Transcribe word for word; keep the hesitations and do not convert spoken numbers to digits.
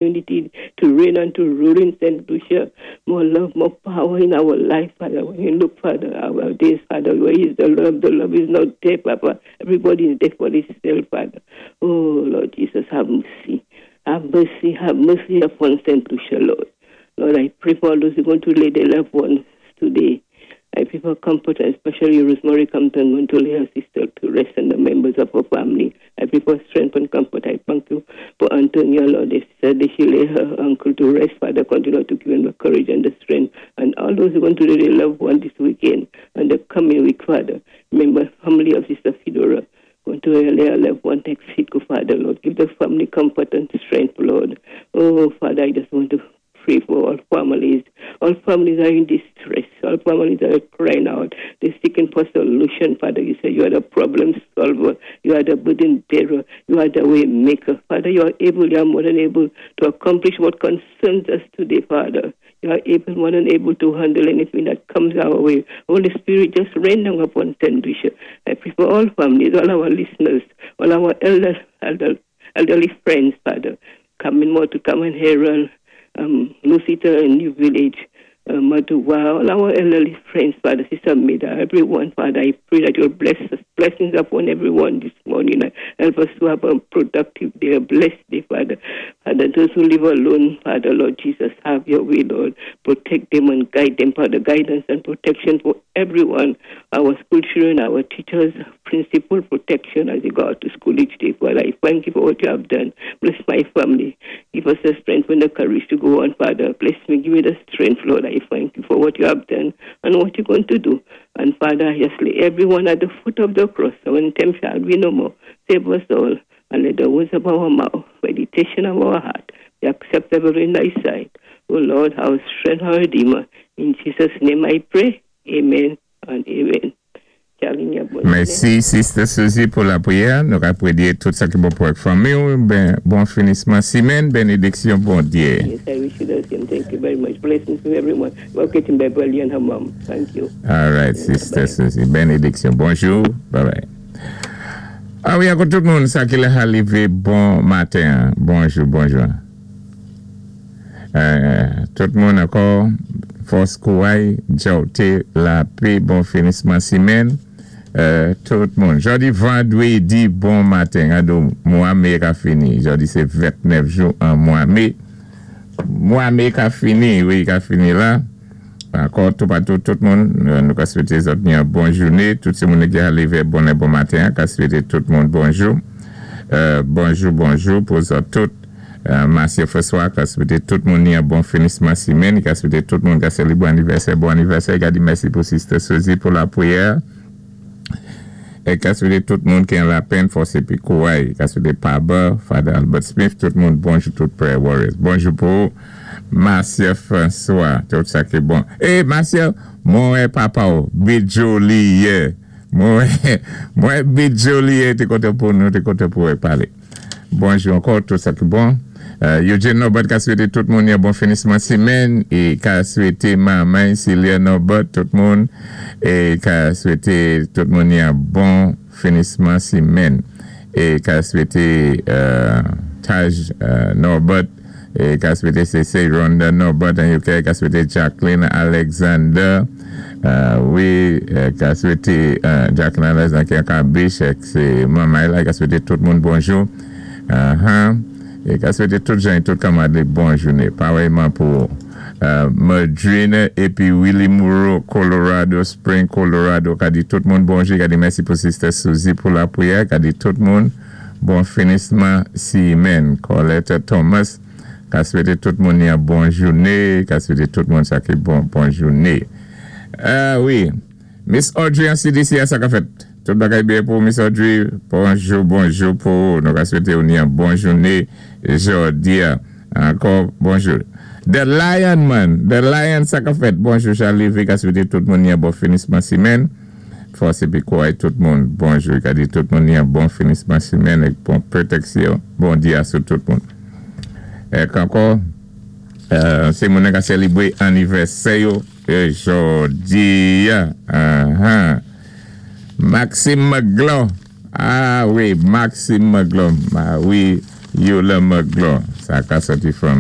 Unity to reign and to rule in Saint Lucia. More love, more power in our life, Father. When you look, Father, our days, Father, where is the love? The love is not there, Papa. Everybody is there for themselves, Father. Oh, Lord Jesus, have mercy. Have mercy, have mercy upon Saint Lucia, Lord. Lord, I pray for all those who are going to lay their loved ones today. I pray for comfort, and especially Rosemary Compton, going to lay her sister to rest and the members of her family. I pray for strength and comfort. I thank you for Antonia, Lord. They said that she lay her uncle to rest. Father, continue to give him the courage and the strength. And all those who are going to lay their loved one this weekend and the coming week, Father. Remember, family of Sister Fedora. Going to lay her loved one next week, Father, Lord. Give the family comfort and strength, Lord. Oh, Father, I just want to pray for all families. All families are in distress. All families are crying out. They're seeking for solution, Father. You say you are the problem solver. You are the burden bearer. You are the way maker. Father, you are able, you are more than able to accomplish what concerns us today, Father. You are able, more than able to handle anything that comes our way. Holy Spirit, just rain down upon Saint Lucia. I pray for all families, all our listeners, all our elders, elder, elderly friends, Father, coming more to come and hear um, Lucita and New Village, uh, Maduwa, all our elderly friends, Father, Sister Mida, everyone, Father, I pray that you'll bless us, blessings upon everyone this morning. Help us to have a productive day, a blessed day, Father. Father, those who live alone, Father, Lord Jesus, have your way, Lord. Protect them and guide them, Father, guidance and protection for everyone, our school children, our teachers, principal protection as they go out to school each day. Father, I thank you for what you have done. Bless my family. Give us the strength and the courage to go on, Father. Bless me. Give me the strength, Lord. I thank you for what you have done and what you're going to do. And Father, I just lay everyone at the foot of the cross. So when time shall be no more. Save us all and let the words of our mouth, meditation of our heart be acceptable in thy sight. O Lord, our strength, our Redeemer. In Jesus' name I pray. Amen and amen. Mèsi, Sister Suzy, pou lapriyè. Nou apwédé tout sa ki bon pou fanmi. Ben, bon finisman simèn, bénédiksyon, Bondyé. Yes, I wish you the same. Thank you very much. Blessings to everyone. Welcome Beverly and her mom. Thank you. All right, Sister Bye. Suzy. Bénédiksyon. Bonjou. Bye bye. A wi, ankò tout moun, sa ki la lévé, bon maten. Bonjou, bonjou. Euh, tout moun ankò, fòs kouray, djawté, lapè, bon finisman simèn. Euh, tout moun. Jòdi vandwédi, bon maten. Ado, mwa mé ka fini. Jòdi sé ventnèf jou an mwa mé. Mwa mé ka fini, wi, ka fini la. Ankò, tout patou, tout moun, nou ka swété zòt ni yon bon jouné. Tout sé moun ki lévé bon bon maten, ka swété tout moun bonjou. Euh, bonjou, bonjou pou zòt tout. Euh, Marcia François, ka swété tout moun ni yon bon finisman simèn, ka swété tout moun ka sélébwé anivèsè, bon anivèsè, ka di mèsi pou Sister Suzy pou lapriyè. É ka swété tout moun ki an lapenn, fòs épi kouray, ka swété Paba, Father Albert Smith, tout moun bonjou, tout prayer warriors. Bonjou pou Marcia François, tout sa ki bon. É, Marcia, mwen papa ou, Bidjo li yé. Mwen, mwen Bidjo li yé, té kontan pou nou, té kontan pou palé. Bonjou ankò, tout sa ki bon. Euh, Eugene Norbert ka swété tout moun yon bon finisman simèn é ka swété manman Celia Norbert, tout moun, é ka swété tout moun yon bon finisman simèn é ka swété euh, Taj euh, Norbert é ka swété C C Rhonda Norbert an U K, ka swété Jacqueline Alexander, euh, wi, ka swété Jacqueline Alexander ki an Cambridge, sé manman la, ka swété tout moun bonjou. Uh-huh. É ka swété tout jan tout kanmad bon jouné. Parèyman pou euh, Madrina épi Willie Moreau, Colorado Spring, Colorado. Ka di tout moun bonjou. Ka di mèsi pou Sister Suzy pou lapriyè. Ka di tout moun bon finisman simèn. Colette Thomas. Ka swété tout moun yon bon jouné. Ka swété tout moun sa ki bon bon jouné. Euh, wi. Miss Audrey an C D C, sa ka fèt. Tout bagay byen pou Miss Audrey. Bonjou, bonjou pou nou ka swété ou ni yon bon jouné jòdi. Ankò, bonjou. The Lion Man. The Lion sa ka fèt. Bonjou, Charlie. Ka swété tout moun yon bon finisman simèn. Fòs épi kouray tout moun. Bonjou. Ka di tout moun yon bon finisman simèn é bon pwotéksyon. Bondyé sou tout moun. É ankò, euh, sé moun ka sélébwé anivèsè yo jòdi. Uh-huh. Maxime McGlaw. A wi, Maxime McGlaw. A wi, Yola McGlaw. Sa ka soti from